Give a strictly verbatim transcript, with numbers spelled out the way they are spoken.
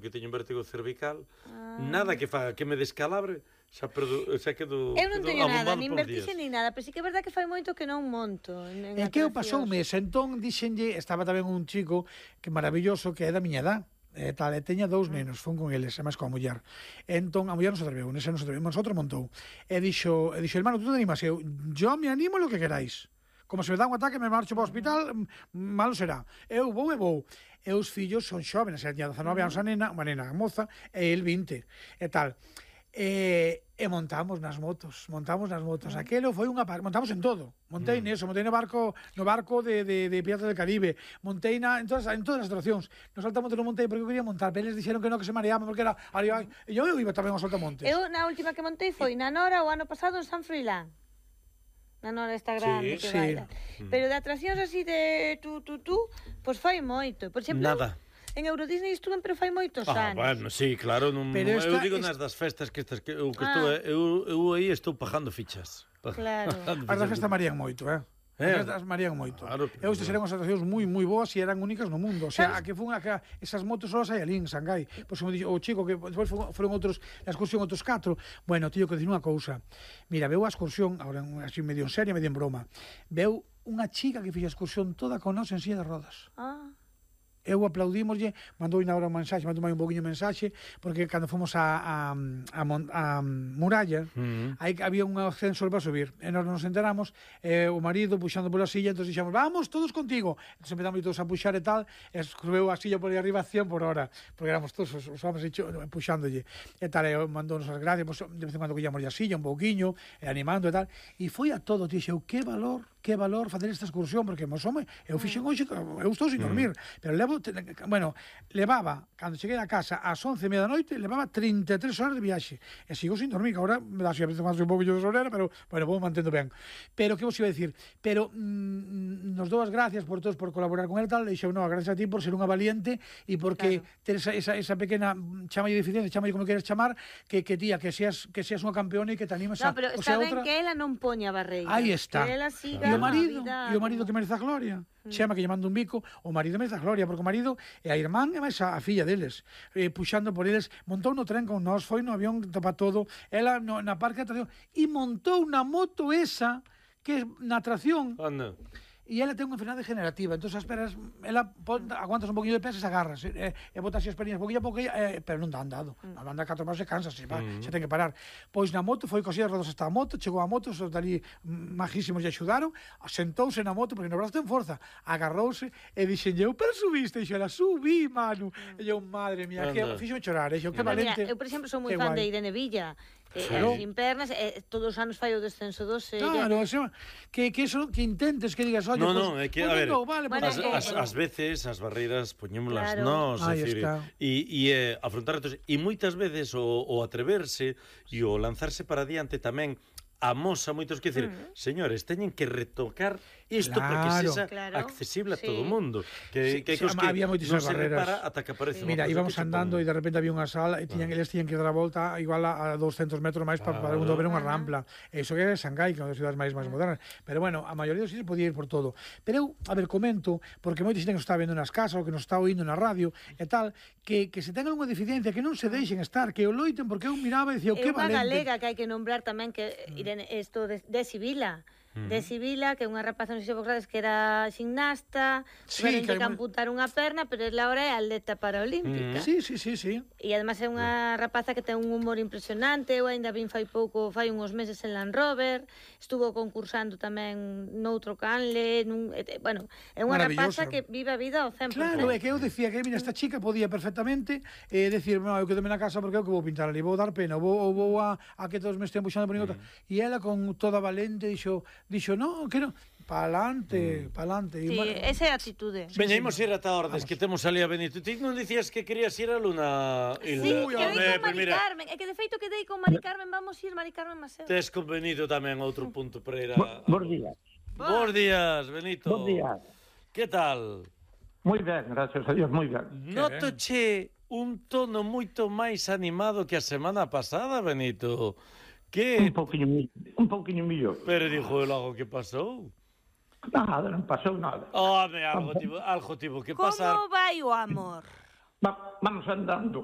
que teño un vértigo cervical, nada que faga que me descalabre, xa perdo, xa quedo Eu non teño nada, nin vertixe vertixe nin nada, pero sí que é verdad que fai moito que non monto. É que eu pasoume, entón dixenlle, estaba tamén un chico que maravilloso, que é da miña edad, e tal, e teña dous nenos, fun con eles, e máis coa muller. Entón, a muller non se atreveu, nese non se atreveu, nosotros montou. E dixo, e dixo, hermano, tú te animas? Eu, yo me animo lo que queráis. Como se me dá un ataque, me marcho para o hospital, malo será. Eu vou e vou. E os fillos son xóvenes, e tiña dezanove anos a nena, unha nena moza, e el vinte, e tal. E, e montamos nas motos, montamos nas motos. Aquelo foi unha par... montamos en todo. Montei mm. neso, montei no barco, no barco de, de, de Piratas del Caribe, montei na, en, todas, en todas as atraccións. No saltamonte non montei porque eu quería montar, pero eles dixeron que non, que se mareaban porque era... Ay, e eu, eu iba tamén ao saltamontes. Eu, na última que montei foi na Nora o ano pasado en San Froilán. Na Nora esta grande sí, que sí. baila. Mm. Pero de atraccións así de tú, tú, tú, pois foi moito. Por exemplo, nada. En Euro Disney estuve, pero fai moitos ah, anos. Bueno, sí, claro, non, eu esta, digo nas das festas que estas que eu que ah. estou, eu, eu aí estou pagando fichas. Claro. As das festas marían moito, eh? Eh, as marían moito. Claro, eu estas eran as atraccións moi moi boas e eran únicas no mundo. O sea, a que fun a que esas motos só as hai ali en Shanghai. Pois como dixo o chico que despois foron outros na excursión outros catro. Bueno, tío, que dicir unha cousa. Mira, veu a excursión, agora así medio en serio, medio en broma. Veu unha chica que fixo a excursión toda con nós en silla de rodas. Ah. Eu aplaudímoslle, mandou na hora un mensaxe, mandou un poquinho mensaxe, porque cando fomos a, a, a, a, a Muralla, uh-huh. aí había un ascensor para subir, e nós nos enteramos, e o marido puxando pola silla, entón dixemos, vamos, todos contigo. Entón empezamos todos a puxar e tal, e escreveu a silla por aí arriba a cien por hora, porque éramos todos os, os homens puxándolle, e tal, e mandounos as gracias, pues, de vez en cuando collamos a silla un pouquiño, e animando e tal, e foi a todo, dixeu, que valor, que valor facer esta excursión, porque, mos home, eu fixen hoxe, eu estou sin dormir, uh-huh. pero levo bueno, levaba, cando cheguei a casa ás once e media da noite, levaba trinta e tres horas de viaxe, e sigo sin dormir, que agora me dá así a veces máis un pouquinho de sobrera, pero, bueno, vou mantendo ben. Pero, que vos iba a decir? Pero, mm, nos dou as gracias por todos por colaborar con el tal, e dixo, no, gracias a ti por ser unha valiente, e porque claro. ter esa, esa, esa pequena, chamalle deficiencia, chamalle como queres chamar, que, que tía, que seas, que seas unha campeona e que te animes no, a... No, pero está ben outra... que ela non poña barreira. Aí está. Que ela siga e o marido, vida, e o marido que merece a gloria. Chama que lle manda un bico, o marido merece a gloria, porque o marido e a irmán e máis a, a filla deles, eh, puxando por eles, montou no tren con nós, foi no avión para todo, ela no, na parque de atracción, e montou na moto esa, que na atracción, anda. E ela ten unha enfermedade degenerativa, entón as peras, ela pon, aguantas un poquinho de peso e se agarras, e, e botas as pernas poquinho a poquinho, e, pero non dá andado, mm. anda catro pasos e cansa, se, va, mm. se ten que parar. Pois na moto, foi cosía rodas hasta a moto, chegou a moto, os dali majísimos lle axudaron, sentouse na moto, porque no brazo ten forza, agarrouse, e dixen, eu, pero subiste, e dixo, ela, subí, Manu, mm. e eu, madre mía, que fixo chorar, e dixo, que valente. Mira, eu, por exemplo, sou moi fan de Irene Villa, Eh, claro. sin pernas, eh, todos os anos fai o descenso dos eh, claro, eso, que, que eso que intentes que digas, oye, no, pues, no, é que, a ver, no, vale, bueno, as, eh, as, as veces as barreiras poñémolas claro. nós, é dicir, e, e eh, afrontar retos, e moitas veces o, o atreverse e o lanzarse para diante tamén amosa moitos, que decir, mm. señores, teñen que retocar isto claro. para que sexa claro. accesible a sí. todo o mundo. Que, sí, que, que, sí, que había moitísimas non se barreras. repara ata que aparece. Sí. Mira, íbamos andando e de repente había unha sala e tiñan, ah. eles tiñan que dar a volta igual a, a doscientos metros máis para, ah. para ver unha rampla. Eso que é Shanghai, que é unha das cidades máis máis modernas. Pero bueno, a maioría dos sitios podía ir por todo. Pero eu, a ver, comento, porque moita xente que nos está vendo nas casas ou que nos está oindo na radio e tal, que, que se ten algunha deficiencia, que non se deixen estar, que o loiten, porque eu miraba e dicía, o que valente. É unha galega que hai que nombrar tamén, que Irene, isto de de Sibila, uh-huh. de Sibila, que é unha rapaza, non sei se vos grades, que era gimnasta, sí, que, que amputar unha perna, pero ela ahora é atleta paraolímpica. Uh-huh. Sí, sí, sí, sí. E además é unha rapaza que ten un humor impresionante, eu ainda vin fai pouco, fai uns meses en Land Rover, estuvo concursando tamén noutro canle, nun, bueno, é unha rapaza que vive a vida ao cen por cento. Claro, é que eu decía que, mira, esta chica podía perfectamente eh, decir, no, eu quedome na casa porque eu que vou pintar ali, vou dar pena, vou, vou a, a que todos me estén puxando por ningota. Uh-huh. E ela con toda valente dixo, dixo, no, que non, pa'lante, mm. pa'lante. Sí, bueno, esa é a actitude. Veña, imos ir ata Ordes, vamos. Que temos ali a Benito. Ti non dicías que querías ir a Luna? Sí, Uy, quedei con Mari Carmen. É que de feito quedei con Mari Carmen, vamos ir Mari Carmen Maceo. Tes con Benito tamén outro punto para ir a... Bos días. Bos días, Benito. Bos días. Que tal? Moi ben, gracias a Dios, moi ben. Notoche un tono moito máis animado que a semana pasada, Benito. Que... Un pouquiño, un pouquiño millor. Pero dijo el algo que pasou. Nada, non pasou nada. Home, algo tivo, algo tivo que pasar. Como vai o amor? Va, vamos andando.